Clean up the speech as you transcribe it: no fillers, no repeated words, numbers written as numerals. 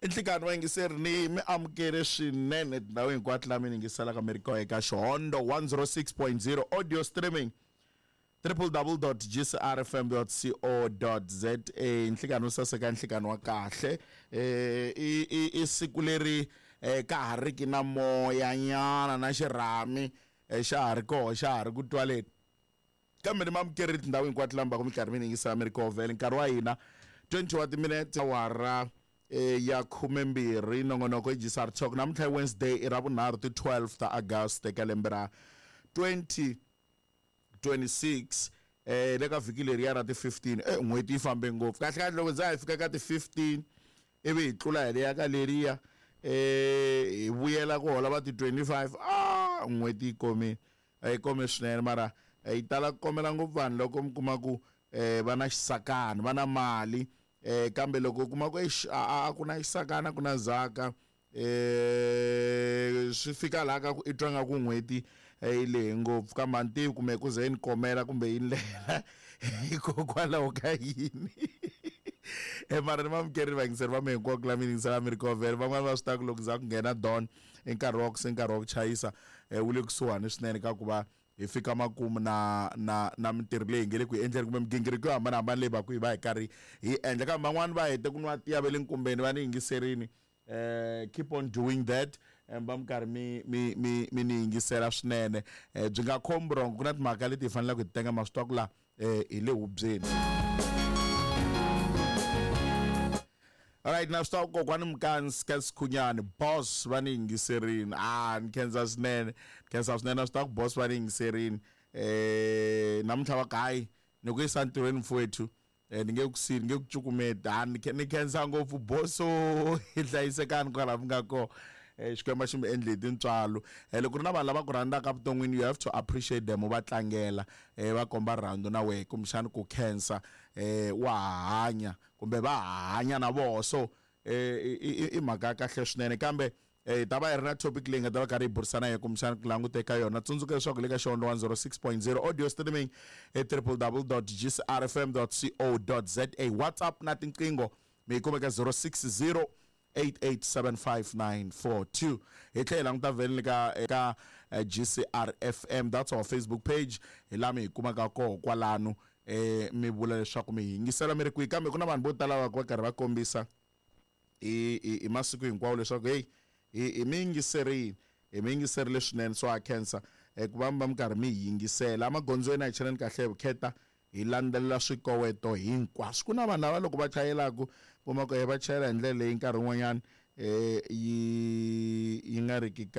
I nhlikani vayingiseri ni mi amukele swinene tindhawu hinkwato laha mi yingiselaka mi ri kona eka Xihondo 106.0 audio streaming www.gcrfm.co.za. Nhlikani wo saseka, nhlikani wa kahle. I siku leri ka ha riki na moya nyana na xirhami xa ha ri koho, xa ha ri ku twaleni, kambe ni mamukerile tindhawu hinkwato laha mi va ku mi karhi mi yingisela mi ri koho. Vhele nkarhi wa hina 20 wa timinete awara ya 12, nongonoko i GCR Talk. Namuntlha i Wednesday, i ra vunharhu, ti 12 ta August eka lembe ra 2026. Le ka vhiki leriya ra ti 15, n'hweti yi fambe ngopfu. Kahle kahle loko za hi fika ka ti 15 ivi hi tlula hi leya ka leriya, hi vuyela ku hola va ti 25, n'hweti yi komile, yi kome swinene. Mara yi tala ku komela ngopfu vanhu loko mi kuma ku va na xisakana, va na mali, kambe loko u kuma ku eish, a ku na xisakana, ku na zaka, swi fika laha ka ku i twa nga ku n'hweti yi lehe ngopfu. Kambe a ni tivi kumbe ku ze yi ni komela kumbe yi ni lehela hikokwalaho ka yini. Mara ni vamukerile vayingiseri va mi hinkwako la mi yingisela mi ri kona. Vhele van'wani va swi tiva ku loko za ku nghena dawn i nkarhi wa ku se nkarhi wa ku chayisa wu le kusuhani swinene ka ku va hi fika makumu na mintirho leyi hi nge le ku yi endleni kumbe migingiriko yo hambanahambana leyi va ku hi va hi karhi hi endla. Kambe van'wani va hete ku nwa tiya va le nkumbeni, va ni yingiserini. Keep on doing that, va mi karhi mi ni yingisela swinene. Byi nga khomi vurhongo, ku na timhaka leti hi faneleke hi ti tenga, ma swi tiva ku la hi le hubyeni. Alright, na swi tiva ku kokwani Mkansi ka Sikhunyani boss va ni yingiserini. Ni khensa swinene, ni khensa swinene. Na swi tiva ku boss va ni yingiserini. Namuntlha va ku hayi ni ku yisa ntirhweni mfowethu, ni nge ku sili, ni nge ku cukumeti. Ni khensa ngopfu boso, hi hlayisekani kwalaho mi nga kona. Xikwembu xi mi endle hi tintswalo. Loko ku ri na vanhu lava ku rhandzaka evuton'wini, you have to appreciate them, u va tlangela, va komba rirhandzu na wehe, kumbexana ku khensa, wa ha hanya kumbe va ha hanya na voho. So i mhaka ya kahle swinene. Kambe hi ta va hi ri na topic leyi nga ta va karhi hi burisana hi kumbexana ku languta eka yona. Tsundzuka leswaku le ka Xihondo 106.0 audio streaming e www.gcrfm.co.za, WhatsApp na tinqingho mi yi kuma eka 060 8875942. Hi tlhela hi languta vhele le ka eka GCRFM, that's our Facebook page, hi laha mi hi kumaka koho kwalano. Mi vula leswaku mi yingisela mi ri kwihi. Kambe ku na vanhu vo tala va va karhi va kombisa hi masiku hinkwawo leswaku hey, hi mi yingiserile, hi mi yingiserile swinene. So ha khensa ku va mi va mi karhi mi hi yingisela emagondzweni. A hi cheleni kahle hi vukheta, hi landzelela swikoweto hinkwaswo. Ku na vanhu lava loko va chayelaka kuma ku va chayela hi ndlela leyi nkarhi wun'wanyana yi nga riki.